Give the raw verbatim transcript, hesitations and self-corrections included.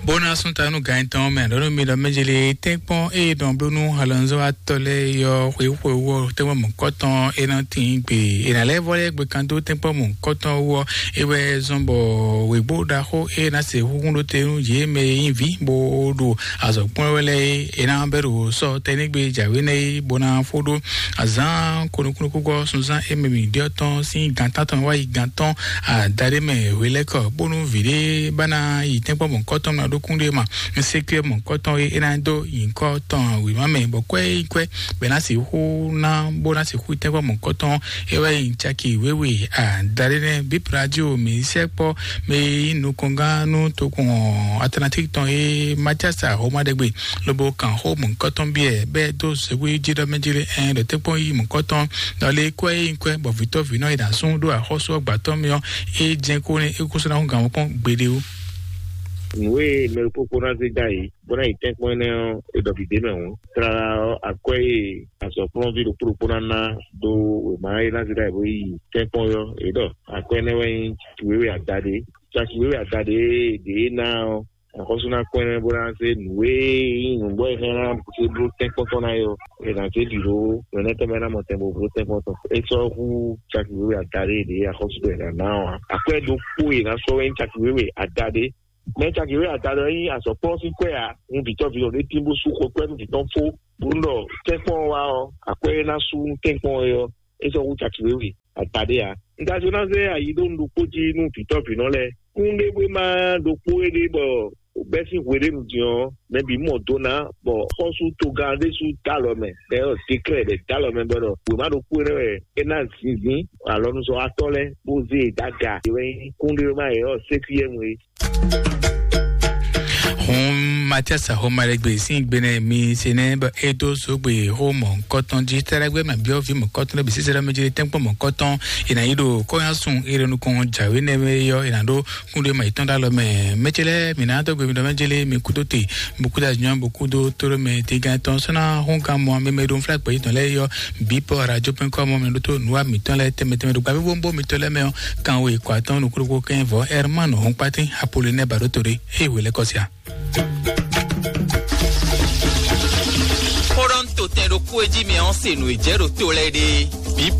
Bó ná sún ta nú gan tɔn mɛ ɖɔnú mi ɖɔ mɛjele tɛ́nkpɔ́n eye dɔn bló nú alɔnzɔ́watɔ́ lɛ́ɛ yɔ xweyíxwe wɔ tɛ́nkpɔ́n mɔ̌kɔtɔn é ná tín gbe. È nǎ lɛ́ vɔ lɛ́ gbe kan dó tɛ́nkpɔ́n mɔ̌kɔtɔn wɔ é wɛ zɔn bɔ wěgbó ɖaxó é ná se húhún ɖó te nú yě mɛ e nyí vǐ bó ɖo azɔ̌ kplɔ́n wɛ lɛ́ɛ é. È nǎ bɛ́ ɖo sɔ tɛnɛ́gbe jǎwe nɛ́ é bó ná fó ɖó azǎn konukúnukúgɔ́ sunzán é mɛ mǐ ɖyɔ́ tɔn sín gan tántɔn wá yi gan tɔn adaɖé mɛ hwelɛ́kɔ bónú vǐ ɖé bá ná yi tɛ́nkpɔ́n mɔ̌kɔtɔn ná ɖó kún ɖé ma. Sékúyɛ mɔ̌kɔtɔn e é ná dó nyǐkɔ tɔn wěma mɛ bɔ kwɛ́ yi kwɛ́ bɛ ná sixú ná bó ná sixú yi tɛ́nkpɔ́n mɔ̌kɔtɔn é wɛ nyí caki wěwe adaɖé nɛ́ bíp radio mǐ sɛkpɔ́ mɛ yi nukɔngán nú tokun atlantique tɔn e matiasa homa ɖe gbe lobo kan xó mɔ̌kɔtɔn biɛ bɛ́ dó sɛgbó jí ɖɔ mɛ jí lé ɛn ɖɔ tɛ́nkpɔ́n yi mɔ̌kɔtɔn ɖɔ lé kwɛ́ yi kwɛ́ bɔ vǐtɔ́ vǐnɔ yi ɖo asún ɖó axɔ́sú ɔgbà tɔn mì ɔ́ é jɛ́n kó nɛ́ é kó sɔ́ ná hú gǎn mɔkpɔ́n gbeɖé ó. Nǔ e mɛ ɖokpó kpó ná zé dó ayǐ bó ná yi tɛ́nkpɔ́n énɛ́ ɔ́, é ɖɔ vǐ ɖé mɛ hǔn. Tlala ɔ́, akwɛ́ e azɔ̌kplɔ́nví ɖokpó ɖokpó ná ná dó wěma e ná zé dó ayǐ bó yi tɛ́nkpɔ́n ɔ́, é ɖɔ akwɛ́ énɛ́ wɛ nyí caki wěwe adaɖé. Caki wěwe adaɖé e ɖě ná ɔ́, axɔ́sú ná kpɔ́n ɛnɛ́ bó ná zé nǔ e nyí nǔgbó e hɛn ná zé bló tɛ́nkpɔ́n tɔn ná é ɔ́, è nǎ zé bǐ ɖó nǔ énɛ́ tɔn mɛ ná mɔ tɛn bó bló tɛ́nkpɔ́n tɔn. É sɔ́ hú caki wěwe adaɖé e ɖě axɔ́sú ɖɔ è nǎ ná ɔ́ ǎ. Akwɛ́ ɖokpó e è nǎ sɔ́ wɛ nyí caki wěwe adaɖé. Mɛ caki wěwe adaɖé ɔ́ nyí azɔ̌kplɔ́n sín kwɛ́ ǎ. Un vǐtɔ́ vǐnɔ ɖé tín bó sú xɔ kwɛ́ nú vǐ tɔn fó, bó nɔ tɛ́nkpɔ́n ɔ́ wá ɔ́, akwɛ́ e ná sú tɛ́nkpɔ́n ɔ́ é ɔ́, é sɔ́ hú caki wěwe adaɖé ǎ. Un ka jló ná zé ayi ɖó un ɖokpó jí nú vǐtɔ́ vǐnɔ lɛ́ɛ. Kún ɖé bó ma ɖokpó éɖée bɔ bɛ́ sín hweɖénu din ɔ́, mɛ bǐ mɔ do ná, bɔ xɔ́sú togán ɖésú dó alɔ mɛ, ɖɛ ɔ́ déklɛ́ ɖɛ dó alɔ mɛ bɔ ɖɔ wěma ɖokpó énɛ́ wɛ é ná zinzín alɔnuzɔ́watɔ́ lɛ́ɛ bó zé e dó aga. É wɛ nyí kúnɖéwéma yě ɔ́ sékúyɛ́nu é. Hun Matias Ahomaregbe sín gbenɛ mi se nɛ bɔ é dó zogbe xó mɔ̌kɔtɔn jí tɛ́rɛ́gbé ma byɔ́ vǐ mɔ̌kɔtɔn lɛ́ɛ bǐ sísɛ́ ɖɔ mɛ jí tɛ́nkpɔ́n mɔ̌kɔtɔn è nǎ yi ɖo kɔ́nyásun é ɖo nukɔn jǎwe nɛ́ mɛ yɔ è nǎ ɖó kúnɖé ma yětɔn ɖó alɔ mɛ. Mɛ ce lɛ́ɛ mǐ ná dó gbe mi ɖɔ mɛ jélé mi kúdó te, mi kúdó azɔ̌, mi kúdó tóɖó mɛ, tégán tɔn sɔ́ ná hún gán mɔ mɛ mɛ ɖo fúlá gbɛ̌ yětɔn lɛ́ɛ yɔ bǐ pɔ radio pɛn kɔ́ mɔ mɛ ɖótó nǔwa mǐtɔn lɛ́ɛ tɛnmɛ tɛnmɛ ɖo gbavívónbó mitɔn lɛ́ɛ mɛ ɔ́, kan we kɔ atɔn nukúɖokpó kɛ́n vɔ̌ Hermano Hɔnkpátí Apolonɛ Baɖótore. Eye wě lɛ́ kɔ sia. Xó ɖɔ un to tɛn ɖokpó e jí mɛ ɔ́ se nǔ e jɛ ɖo to lɛ́ɛ ɖe.